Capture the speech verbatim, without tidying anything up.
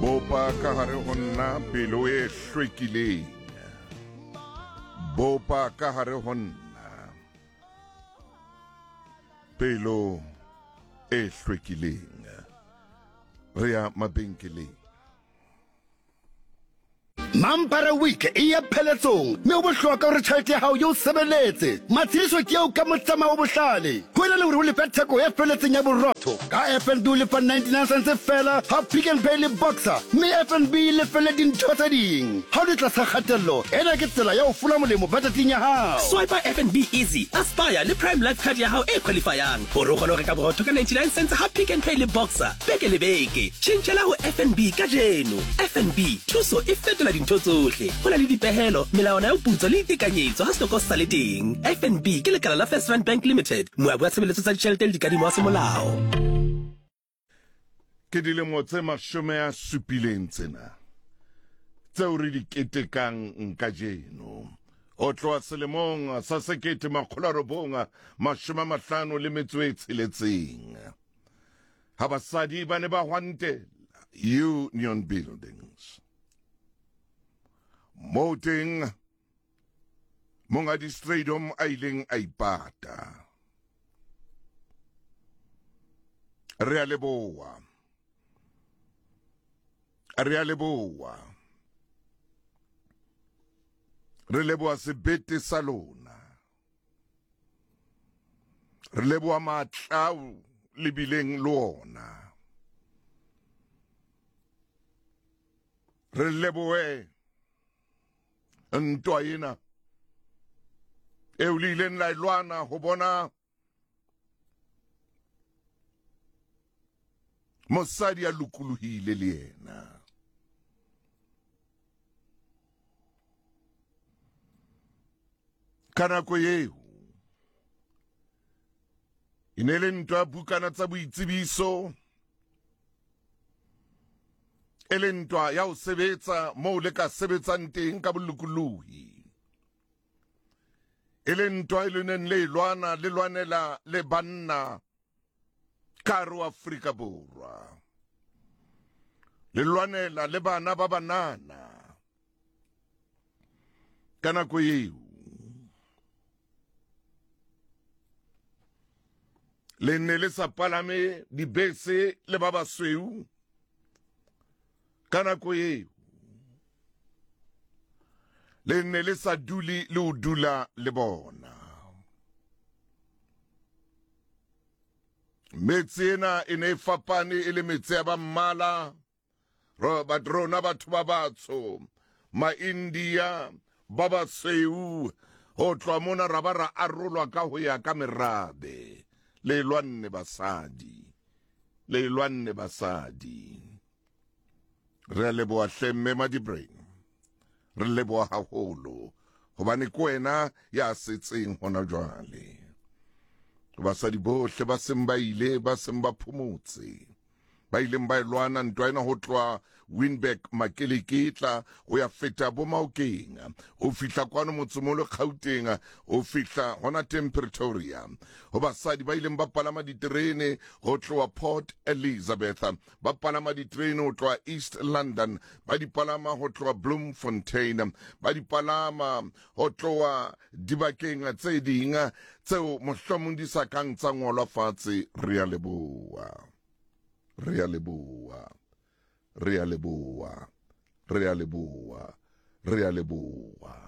Bopa ka hare ho nna pelo e hlwekileng. Bopa ka hare ho nna pelo e hlwekileng. Re ya mabenkeleng. Mampara Week e ya pheletsong mme o bohlokwa hore tjhelete ya hao e o sebeletse. Matshediso ke eo ka motsamao o bohlale. Ho ena le hore o lefe theko e feletseng ya borotho, ka F N B o lefa ninety-nine cents fela ha Pick n Pay le Boxer, mme F N B e lefelle dintho tse ding. Ha o le tlasa kgatello, ena ke tsela ya ho fola molemo budgeteng ya hao. Swipe F N B Easy, Aspire le Prime Life Card ya hao e qualifyang hore o kgone ho reka borotho ka ninety-nine cents ha Pick n Pay le Boxer beke le beke. Tjhentjhela ho F N B kajeno. F N B, thuso e fetola dintho tsohle. Ho na le dipehelo, melawana ya putso le ditekanyetso ha setoko se sa le teng. F N B ke lekala la First Rand Bank Limited, moabi wa tshebeletso tsa ditjhelete le dikadimo wa semolao. Ke dilemo tse mashome a supileng tsena tseo re di ketekang kajeno. Ho tloha selemong sa sekete makgolo a robong mashome a mahlano le metso e tsheletseng, ha basadi ba ne ba hwantela Union Buildings. Moo teng monghadi Strijdom a ileng a ipata. Re a leboha. Re a leboha. Re leboha sebete sa lona. Re leboha matla ao le bileng le ona. Re lebohe ntwa ena eo le ileng la e lwana ho bona mosadi a lokolohile le yena. Ka nako eo e ne le ntwa ya bukana tsa boitsebiso, e le ntwa ya ho sebetsa moo le ka sebetsang teng ka bolokolohi, e le ntwa e le neng le e lwana, le lwanela le banna ka hare ho Afrika Borwa, le lwanela le bana ba banana. Ka nako eo le ne le sa palame dibese le ba basweu. Ka nako eo le ne le sa dule le ho dula le bona. Metse ena e ne e fapane e le metse ya ba mmala, rona batho ba batsho, ma-India, ba basweu, ho tloha mona ra ba ra arolwa ka ho ya ka merabe. Le lwanne basadi, le lwanne basadi. Re a leboha hle mme Madibrain, re leboha haholo hobane ke wena ya setseng hona jwale. Basadi bohle ba seng ba ile, ba seng ba phomotse, ba ileng ba e lwana ntwa ena ho tloha Winburg Makeleketla ho ya feta bo Maokeng, ho fihla kwano motsemolo Gauteng, ho fihla hona teng Pretoria. Ho basadi ba ileng ba palama diterene ho tloha Port Elizabeth, ba palama diterene ho tloha East London, ba di palama ho tloha Bloemfontein, ba di palama ho tloha dibakeng tse ding tseo mohlomong di sa kang tsa ngolwa fatshe. Re a leboha, re a leboha, re a leboha, re a leboha, re a leboha.